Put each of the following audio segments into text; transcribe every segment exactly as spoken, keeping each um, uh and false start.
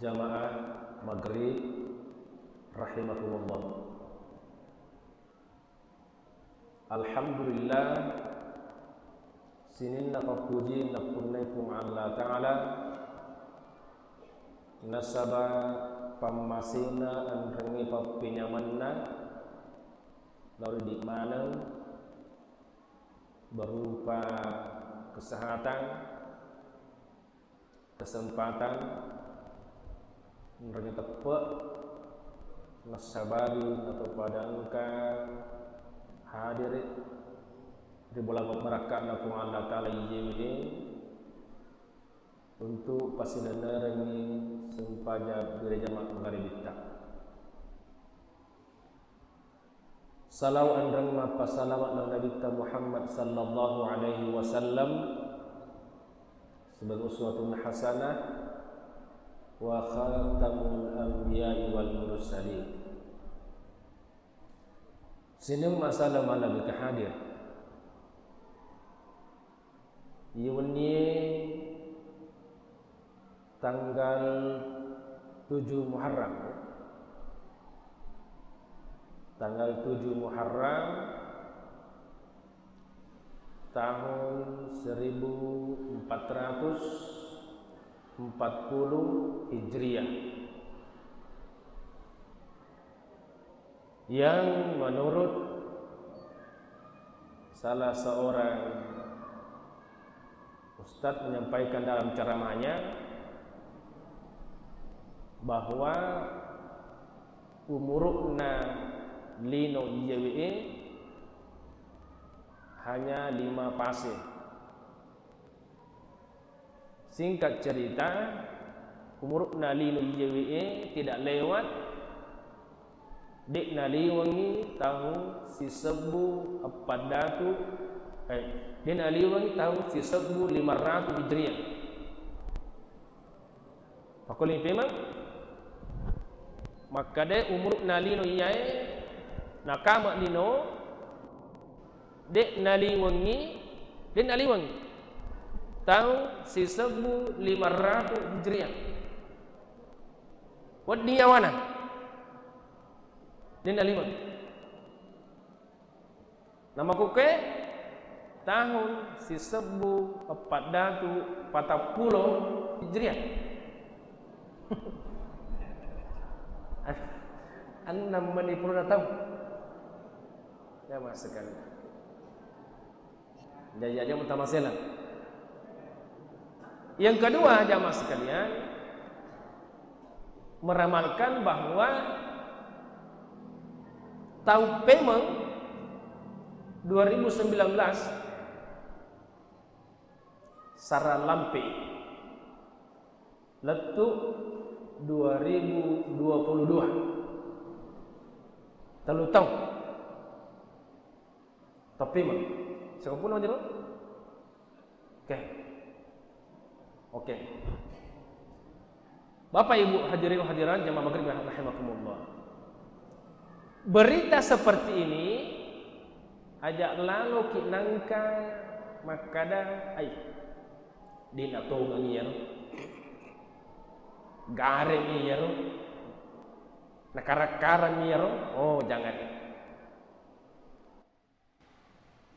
Jamaah maghrib rahimakumullah. Alhamdulillah, sininna pappuji nappunnai Puang Allah Ta'ala, nasaba pammasena enrengnge pappenyamanna lao ri idi maneng berupa kesehatan, kesempatan enrengnge teppe, nassabari nato pada engka hadir ri bola pabbarakkanna Puang Allah Ta'ala iyewe untuk pasilennerengngi sempajang gereja maggaribitta. Salawat enreng mappasalawat lao Nabitta Muhammad sallallahu alaihi wasallam sebagai uswatun hasanah wa khatamul anbiya'i wal mursalin. Sining masalah malabika hadir. Iye wennie tanggal tujuh Muharram. Tanggal tujuh Muharram tahun seribu empat ratus empat puluh Hijriah. Yang menurut salah seorang ustadz menyampaikan dalam ceramahnya bahwa umuru'na lino iyewe'e hanya lima pase. Singkat cerita, umuru'na lino iyewe'e tidak lewat, de' naliwengngi taung sisebbu eppat datu, eh, de' naliwengngi taung sisebbu lima ratu Hijriah. Pakkuling pemeng, makkeda umuru'na lino iyae nakama lino, de' naliwengngi, de' naliwengngi taung sisebbu lima ratu Hijriah. Wedding yawana, de' naliwengngi. Namakkukkue tahun sisebbu eppat datu patappulo Hijriah. Annang meni pulona taung. Jamaah sekalian. Jaji aja mutamaselang. Yang kedua, jamaah sekalian, meramalkan bahwa taung pemeng dua ribu sembilan belas sara lampe lettu dua ribu dua puluh dua. Tellu taung. Taung pemeng. Sakampuna jero? Oke. Oke. Bapak Ibu hadirin hadirat jamaah maghrib rahimakumullah. Berita seperti ini aja laloki nangka makkada, ai, de' natongengi iyaro. Garemi iyaro. Nakara-karami iyaro. Oh, jangan.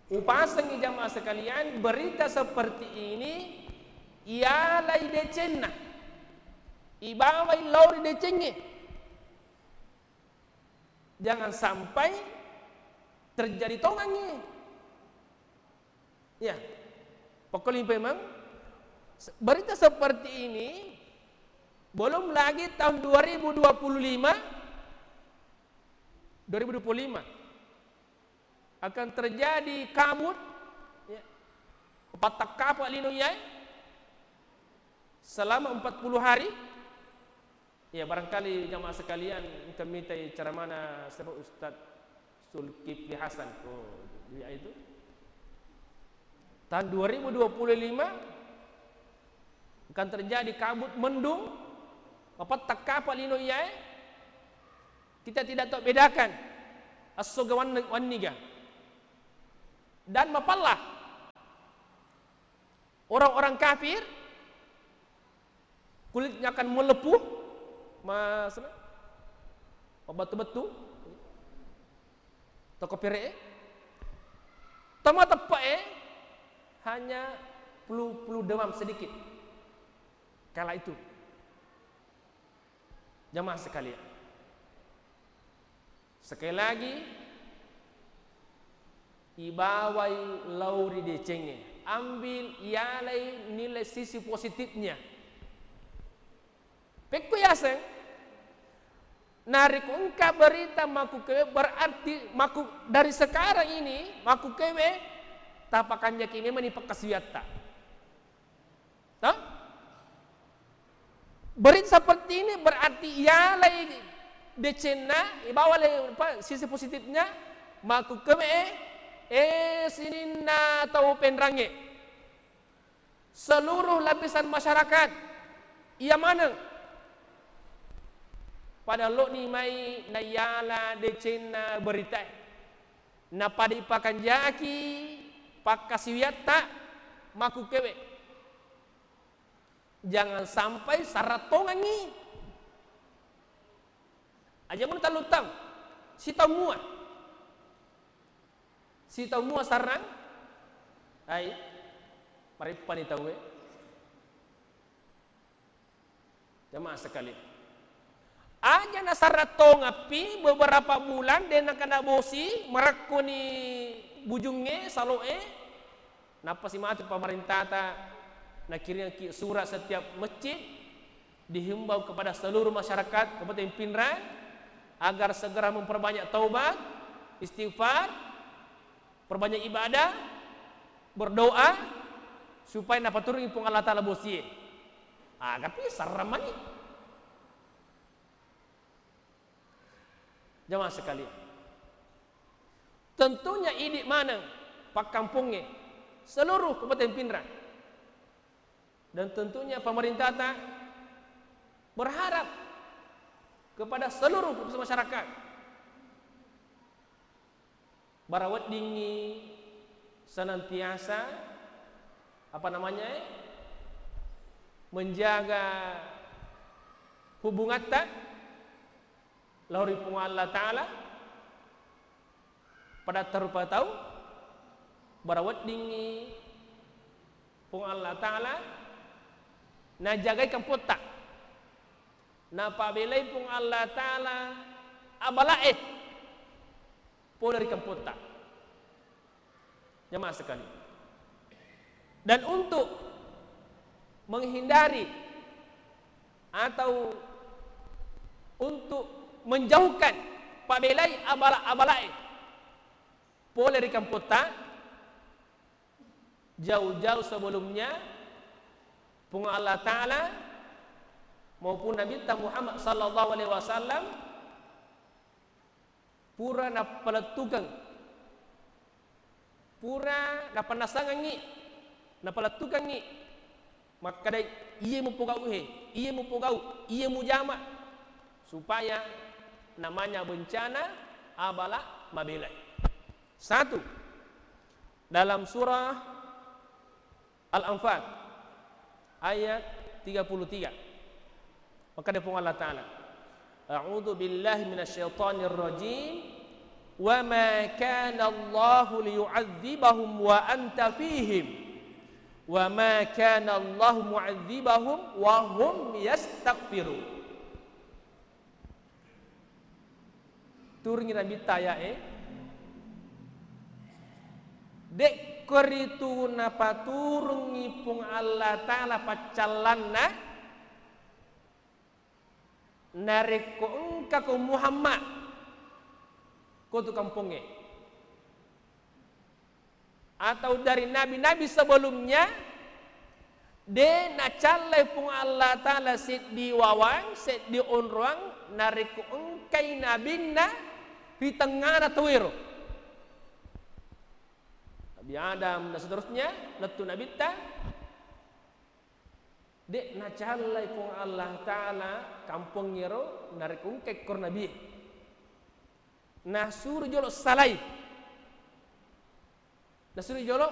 Upasengi jamaah sekalian, berita seperti ini ialai decenna, ibawai lao ri decengnge. Jangan sampai terjadi tongengngi. Ya, pokoknya memang se-, berita seperti ini belum lagi tahun dua ribu dua puluh lima, dua ribu dua puluh lima. Akan terjadi kabut, ya, pattakkapa lino iyae selama empat puluh hari. Ya, barangkali jamaah sekalian engka mitai ceramana sebab Ustaz Zulkifli Hasan. Oh, iya itu. Tahun dua ribu dua puluh lima akan terjadi kabut mendung, pattakkapa lino iyae. Kita tidak tahu bedakan esso ga wan-, wanniga. Dan mapella orang-orang kafir, kulitnya akan melepuh, Mas, mabettu-bettu, toko pere'e, tama teppe'e hanya flu, flu demam sedikit. Kala itu, jamaah sekalian, sekali lagi, ibawai lao ri decengnge, ambil, ialai nilai sisi positifnya. Pekko yaseng, narekko engka berita makkukewe, berarti makku-, dari sekarang ini makkukewe tapakanjaki memang ni pakkasiwiatta. Toh? Berita seperti ini berarti ialai decenna, ibawa le-, apa, sisi positifnya, makkukewe, eh, sininna tau penrangnge. Seluruh lapisan masyarakat, iya maneng. Pada lo'ni mai naiala decenna beritae. Napada ipakanjaki pakkasiwiatta makkukewe. Jangan sampai sarrattongangngi. Aja mun talluttang, sitaung mua. Sitaung mua sarrang, ai, mareppani tauwe. Jamaah sekalian. Aja nasarrattongappi beberapa bulan, de nakana bosi, marekkoni bujungnge, salo'e, nappa simatu pamarentata nakiringki surat setiap masjid, dihimbau kepada seluruh masyarakat Kabupaten Pinrang agar segera memperbanyak taubat, istighfar, perbanyak ibadah, berdoa, supaya napaturungi Puang Allah Ta'ala bosie. Ah, tapi serrem mani. Jamaah sekalian, tentunya idi maneng pakkampongnge seluruh Kabupaten Pinrang, dan tentunya pemerintata berharap kepada seluruh lapisan masyarakat bara weddingngi senantiasa, apa namanya, eh, menjaga hubungatta lao ri Puang Allah Ta'ala, pada tarupa tau bara weddingngi Puang Allah Ta'ala najagai kampotta, napabelai Puang Allah Ta'ala abala'e pole ri kampotta. Jamaah sekalian. Dan untuk menghindari atau untuk menjauhkan, pabelai abala-, abalae pole ri kampotta, jauh-jauh sebelumnya Puang Allah Ta'ala maupun Nabitta Muhammad sallallahu alaihi wasallam pura napalettukeng, pura napannasangengngi, napalettukengngi, makkeda, "Iye mupogau he, iye mupogau, iye mujama," supaya namanya bencana abala mabelai. Satu, dalam surah Al-Anfal ayat tiga puluh tiga. Makkeda Puang Allah Ta'ala, "A'udzu billahi minasyaitonir rajim. Wa ma kana Allahu liyu'adzibahum wa anta fihim. Wa ma kana Allahu mu'adzibahum wa hum yastaghfirun." Turungi Nabitta aya'e, dekko ritu napaturungi Puang Allah Ta'ala paccallanna, narekko engkako Muhammad, ko tu kampongnge, atau dari nabi-nabi sebelumnya, de nacallai Puang Allah Ta'ala seddi wawang, seddi onroang, narekko engkai nabinna ri tengngana tauwero. Nabi Adam dan seterusnya, lettu nabitta, de nacallai Puang Allah Ta'ala kampongngero narekko engkai koro nabie. Nasuro jolo salai. Nasuro jolo